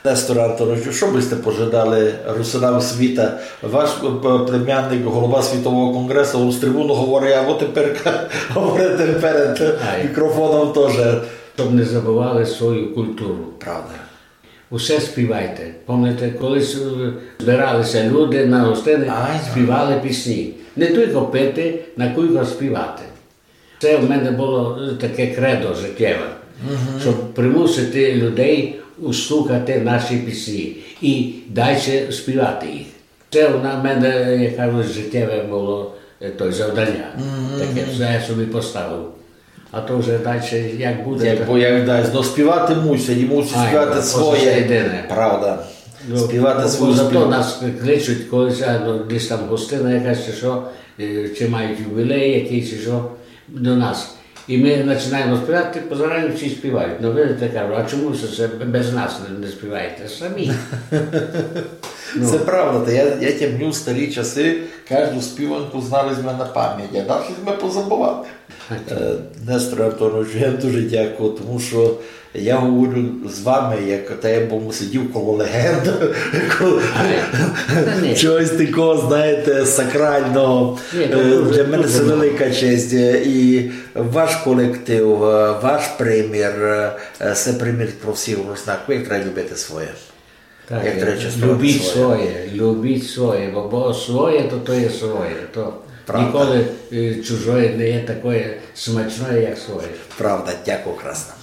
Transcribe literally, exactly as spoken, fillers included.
Несторе Антоновичу, што бы сьте пожадали русинам світа? Ваш, е, племянник, голова Світового конґресу, з трибуны говорить, або тепер говорите перед мікрофоном тоже. Щоб не забывали свою культуру. Правда. Усе співайте. Помните, колись, е, збирали ся люди на гостины, співали пісні. Не тілько пити, на кулько співати. Се в мене было, е, таке кредо житєве, щоб примусити людей услухати наші пісні і дальше співати їх. Се в мене, як кажуть, житєве было, е, той завданя. Таке, што я собі поставив. А то вже дальше як буде, як, то бо як дасть. Но співати мусять, і мусять співати своє. Правда. Співати свою співанку. Зато нас кличуть, коли ся, ну, десь там гостина якась чи што, е, чи мають юбілей якийсь, чи што, до нас. І мы починаємо співати, позираємо, всі співають. Ну, видите, кажу, а чому се, се без нас не, не співаєте? Самі. Ну. Се правда, та я, я тямлю старі часы, кажду співанку знали сьме на память, а далі сьме позабывали. Е, Несторе Антоновичу, я дуже дякую, тому што я говорю з вами, як та я бы сидів коло легенд, коло чогось такого, знаєте, сакрального. Е, для мене се велика честь. Е, і ваш колектив, е, ваш примір, е, се примір про всіх руснаків, як треба любити своє. Так, як треба чествовати своє. Любіть своє, любіть своє, бо, бо своє, то, то є своє. То ніколи, е, чужоє не є такоє смачноє, як своє. Правда, дякую, красно.